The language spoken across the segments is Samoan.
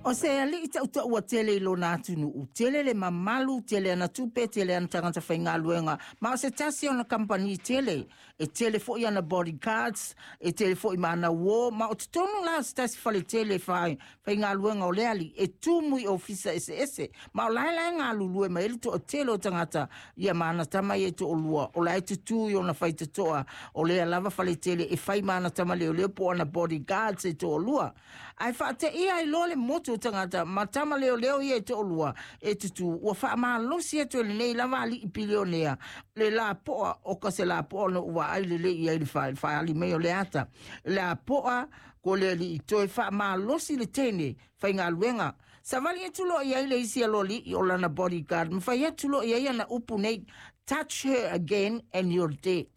O se aliʻi taʻutaʻua tele i lona atunuu, tele le mamalu, tele ana tupe, tele ana tagata faigaluega, ma o se tasi ona kamupani tele. E tele foi ana bodyguards, e tele foi ma ana uō, ma o totonu la o se tasi fale tele e faigaluega o le alii, e tumu i ofisa eseese, ma o la e la e galulue mai ai le toatele o tagata ia ma ana tama ia e toalua, o la e tutū i ona faitotoa o lea lava fale tele e fai ma ana tama leoleo po o ana bodyguards e toalua. Ae faateia ai loa le motu o tagata ma tama leoleo ia e toalua e tutū, ua faamalosi atu e lenei lava alii pilionea le lapoa o ka se lapoa ona ou vaai lelei i ai i le faaali mai o le ata lapoa ko le alii toe faamalosi le teine faigaluega. Savali atu loa i ai le isi aloalii o lana bodyguard ma fai atu loa i ai ana upu nei, "Touch her again and you're dead."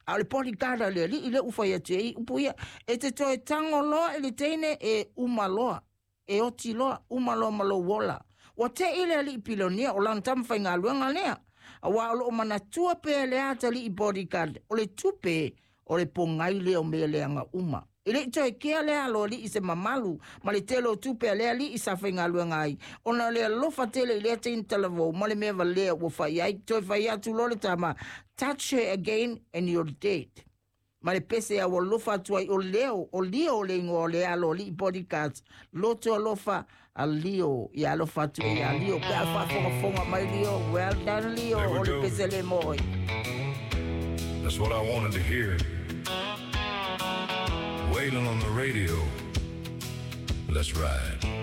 A o le bodyguard a le alii lea ua fai atu ai upu ia, e te toe tango loa i le teine e uma loa, e oti loa, uma loa ma lou ola. Ua te'i le alii pilonia o lana tama faigaluega lea, aua o loo manatua pea e le atalii bodyguard o le tupe o le pogai lea o mea leaga uma. E le i toe kea le aloalii i se mamalu ma le tele o tupe a le alii sa faigaluega ai, ona o le alofa tele i lea teine talavou ma le mea valea ua fai ai. Toe fai atu loa le tama, "Touch her again and you're dead." Ma le pese a ua alofa atu ai o Leo, o Leo le igoa o le aloalii bodyguards, loto alofa a Leo, ia alofa atu ai ia Leo pe a faafogafoga mai Leo, well done Leo, There we o le go. pese le mo oe. That's what I wanted to hear. Wailing on the radio. Let's ride.